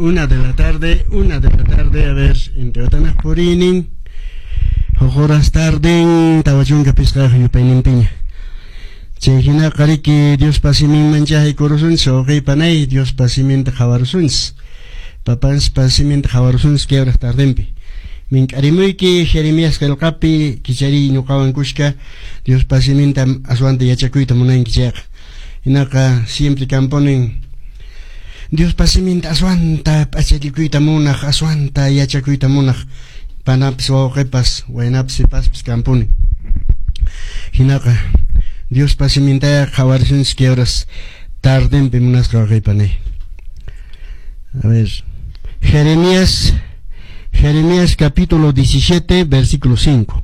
1 de la tarde, 1 de la tarde, a ver, Intihuatanaq puriynin, huk horas tarden, 45 yupayninpiña. Chay hinaqa riki Diospa siminman chayaykurusunchis, wawqiy panay, Diospa siminta qhawarusunchis. Papanchispa siminta qhawarusunchis kay horas tardenpi. Mink'arimuyki Jeremías qillqapi kichariy ñuqawan kushka Diospa siminta aswanta yachakuyta munanki chayqa. Hinaqa siempre kampunin Diospa siminta aswanta p'achallikuyta munaq, aswanta yachakuyta munaq panapis wawqipas, waynapis sipaspis kampuni. Hinaqa Diospa simintaya qhawarisunchis kay horas tardenpi munasqa wawqiy panay. A ver, Jeremías, Jeremías capítulo 17, versículo 5.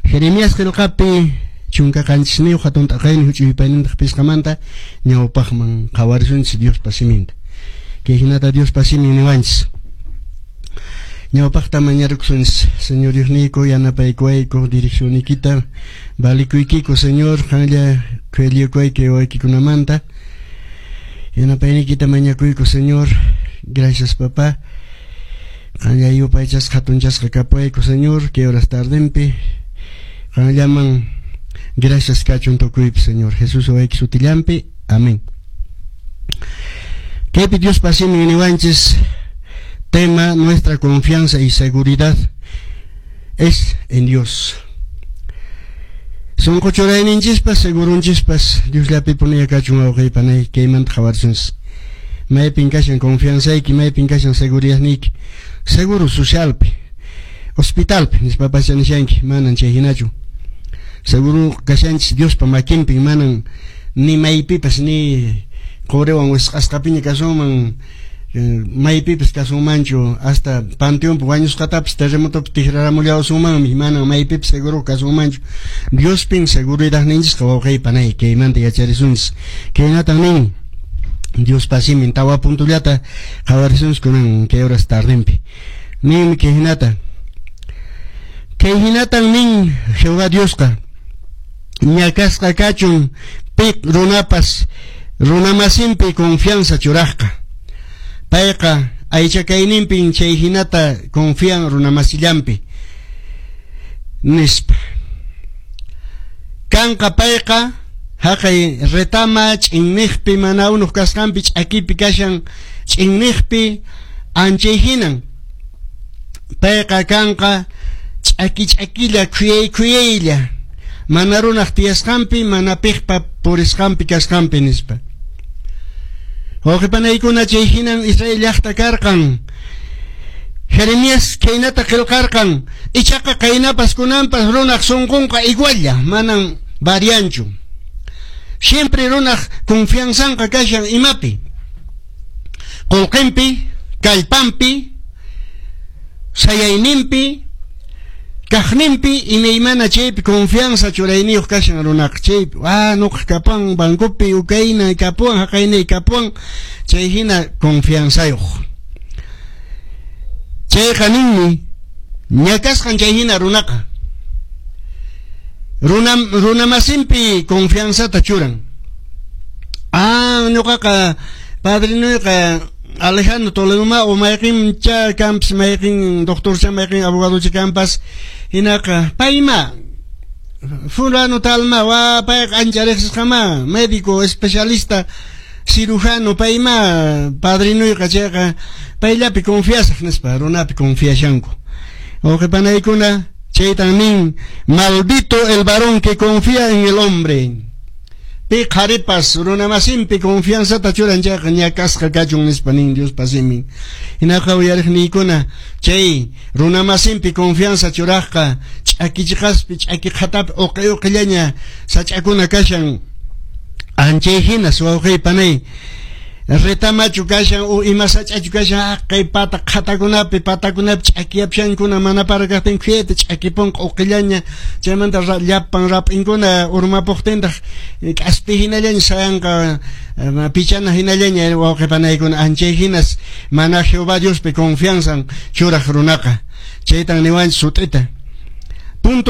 Jeremías qillqapi 17 hatun t'aqaynin huch'uy yupaynintaq pisqamanta ñawpaqman qhawarisunchis Diospa siminta. Kay hinata Diospa simin niwanchis. Ñawpaqta mañarukusunchis, Señor Diosniyku, yanapaykuwayku direccionnikita valikuykiku, Señor, qanlla khuyallikuwayki wawaykikunamanta. Yanapaynikita mañakuyku, Señor. Gracias, papá. Qanlla yupaychasqa hatunchasqa kapuwayku, Señor, kay horas tardenpi. Qanllaman gracias kachun tukuypi, Señor. Jesús wawayki sutillanpi. Amén. Kaypi Diospa simin niwanchis tema: nuestra confianza y seguridad es en Dios. Sunqu churayninchispas, segurunchispas Diosllapi puniya kachun, wawqiy panay, kaymanta qhawarisunchis. Maypin kashan confianzayki, maypin kashan seguridadniyki? Seguro socialpi, hospitalpi nispapas nishanki, manan chay hinachu. Seguro kashanchis Diospa makinpin, manan ni maypipas ni quriwan wisq'asqapiña kasunman, maypipas kasunmanchu, hasta panteonpi wañusqatapas terremotopi tikraramullawasunmanmi, manan maypipas seguro kasunmanchu. Diospin seguridadninchisqa, wawqiy panay, kaymanta yacharisunchis. Kaynatan nin Diospa simin, tawa puntullata qhawarisunchis kunan kay horas tardenpi. Ninmi kay hinata. Kay hinatan nin Jehová Diosqa: ñakasqa kachun pi runapas runamasinpi confianza churaqqa. Payqa aycha kayninpin chay hinata confian runamasillanpi, nispa. Kanqa payqa haqay retama ch'inniqpi, mana unuq kasqanpi, ch'akipi kashan ch'inniqpi anchay hinan. Payqa kanqa ch'aki ch'akilla, khuyay khuyaylla, mana runaq tiyasqanpi, mana piqpa purisqanpi kasqanpi, nispa. Wawqi panaykuna, chay hinan Israel llaqta karqan. Jeremías khaynata qillqarqan, ichaqa qaynapas kunanpas runaq sunqunqa igualla, manan varianchu. Siempre runaq confianzanqa kashan imapi? Qullqinpi, kallpanpi, sayayninpi, kaqninpi, imaymana chaypi confianza churayniyuq kashan runaqa chaypi. Ah, nuqa kapuwan bancopi, ukayna kapuwan, haqaynay kapuwan, chay hina confianzayuq. Chayqa ninmi ñakasqan chay hina runaqa. Runa runamasinpi confianzata churan. Ah, ñuqaqa padrinuyqa Alejandro Toledoma o mayqin cha kampas, mayqin doctor cha, mayqin abogado cha kampas, hinaqa payma fulano talma wa payqa ancha riqsisqama médico especialista cirujano, payma padrinuyqa, chayqa payllapi confiasaq, nispa runapi confiashanku. Wawqi panaykuna, chaytan nin: maldito el varón que confía en el hombre. Pi qharipas runamasinpi confianzata churan chayqa ñakasqa kachun, nispa nin Diospa simin. Hinaqa uyariqniykuna, chay runamasinpi confianza churaqqa ch'aki chiqaspi, ch'aki qhatapi uqi uqillaña sach'akuna kashan anchay hinas, wawqiy panay. Retamachu kashan o ima sach'achu kashan haqay pata qhatakunapi, patakunapi ch'akiyapshankuna, mana para kaqtin khuyayta ch'akipunqa uqillaña, chaymanta llapan rap'inkuna urmapuqtintaq k'aspi hinallaña sayanqa, pichana hinallaña. Wawqi panaykuna, anchay hinas mana Jehová Diospi confianzan churaq runaqa. Chaytan niwanchis sut'ita.